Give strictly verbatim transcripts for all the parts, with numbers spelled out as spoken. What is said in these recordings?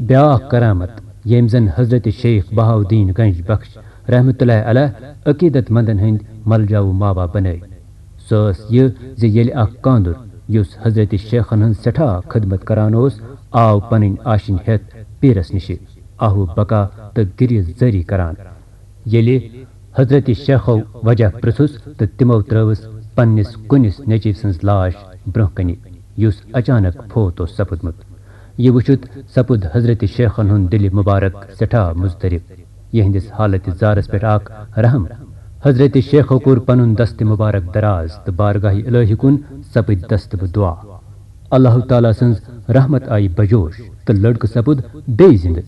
بیاکھ کرامت، ییٚمۍ زن حضرت شیخ بہاؤالدین گنج بخش رحمت اللہ علیہ عقیدت مندن ہٕنٛدۍ ملجا و ماوا بنٲوۍ، سۄ ٲس یہِ زِ ییٚلہِ اکھ کاندُر، یُس حضرت شیخن ہٕنٛز سٮ۪ٹھاہ خدمت کران اوس، آو پنٕنۍ آشِنۍ ہٮ۪تھ پیٖرس نِشہِ، آہو بکا تہٕ گریہِ زٲری کران۔ ییٚلہِ حضرت شیخو وجہ پرٛژھُس تہٕ تِمو ترٲوٕس پننِس کُنِس نیٚچوۍ سٕنٛز لاش برٛونٛہہ کنہِ، یُس اچانک فوت اوس سپُدمُت۔ یہِ وُچھِتھ سپُد حضرت شیخن ہُنٛد دِلہِ مبارک سٮ۪ٹھاہ مضطرب۔ یِہنٛدِس حالتِ زارس پٮ۪ٹھ آکھ رحم۔ حضرت شیخو کوٚر پنُن دستِ مبارک دراز تہٕ بارگاہِ الہی کُن سپٕدۍ دستہٕ بہٕ دعا۔ اللہ تعالیٰ سٕنٛز رحمت آیہِ بجوش تہٕ لڑکہٕ سپُد بیٚیہِ زِنٛدٕ۔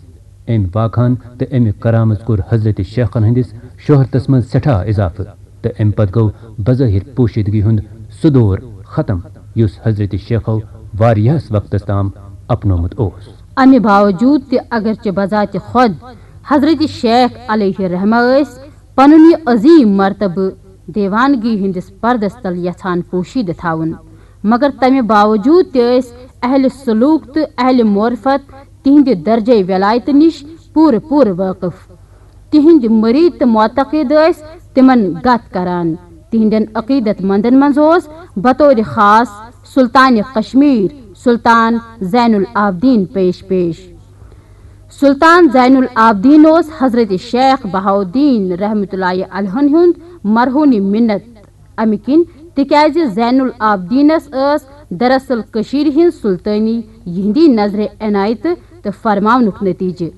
أمۍ واقعہن تہٕ أمہِ کرامژ کوٚر حضرت شیخن ہٕنٛدِس شہرتس منٛز سٮ۪ٹھاہ اضافہٕ، تہٕ أمۍ پتہٕ گوٚو بظٲہر پوشیدگی ہُنٛد سُہ دور ختم، یُس حضرت شیخو واریاہس وقتس تام اپنومُت اوس۔ امہِ باوجود تہِ، اگرچہ بذات خود حضرت شیخ علیہ رحمہ ٲسۍ پنُن یہِ عظیم مرتبہٕ دیوانگی ہٕنٛدِس پردس تل یژھان پوشیدٕ تھاوُن، مگر تمہِ باوجود تہِ ٲسۍ اہلِ سلوک تہٕ اہلِ معرفت تِہنٛدِ درجے ولایتہٕ نِش پوٗرٕ پوٗرٕ وٲقف۔ تِہنٛدۍ مُریٖد تہٕ معتقد ٲسۍ تِمن گت کران۔ تِہنٛدٮ۪ن عقیدت مندن منٛز اوس بطورِ خاص سلطانِ کشمیر سلطان زین العابدین پیش پیش۔ سلطان زین العابدین اوس حضرت شیخ بہاؤالدین رحمت اللہ علیہ ہُنٛد مرہونِ منت۔ امہِ کِنۍ، تِکیازِ زین العابدینس ٲس دراصل کٔشیٖرِ ہٕنٛز سلطٲنی یِہنٛدی نظرِ عنایتہٕ تہٕ فرماونُک نتیجہٕ۔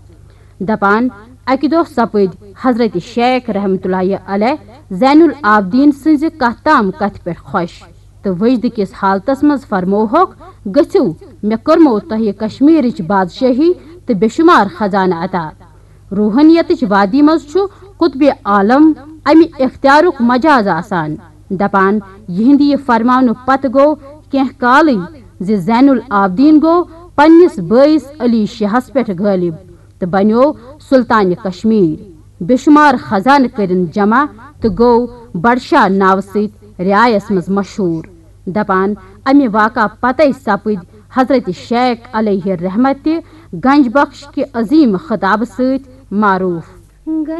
دپان، اکہِ دۄہ سپٕدۍ حضرت شیخ رحمت اللہ علیہ زین العابدین سٕنٛزِ کتھ تام کتھِ پٮ۪ٹھ خۄش تہٕ وجدٕ کِس حالتس منٛز فرمووہکھ، "گٔژھِو، مےٚ کٔرمو تۄہہِ کشمیرٕچ بادشٲہی تہٕ بے شمار خزانہٕ عطا۔" روحانیتٕچ وادی منٛز چھُ قطبِ عالم امہِ اختیارُک مجاز آسان۔ دپان، یِہنٛدِ یہِ فرماونہٕ پتہٕ گوٚو کینٛہہ کالٕے زِ زین العابدین گوٚو پننِس بٲیِس علی شاہس پٮ۪ٹھ غٲلب تہٕ بنیوو سلطانِ کشمیر۔ بے شمار خزانہٕ کٔرِن جمع تہٕ گوٚو بڈشاہ ناوٕ سۭتۍ رعایس منٛز مشہوٗر۔ دپان، امہِ واقعہ پتے سپٕدۍ حضرت شیخ علیہ رحمت تہِ گنج بخش کہِ عظیم خطابہٕ سۭتۍ معروٗف۔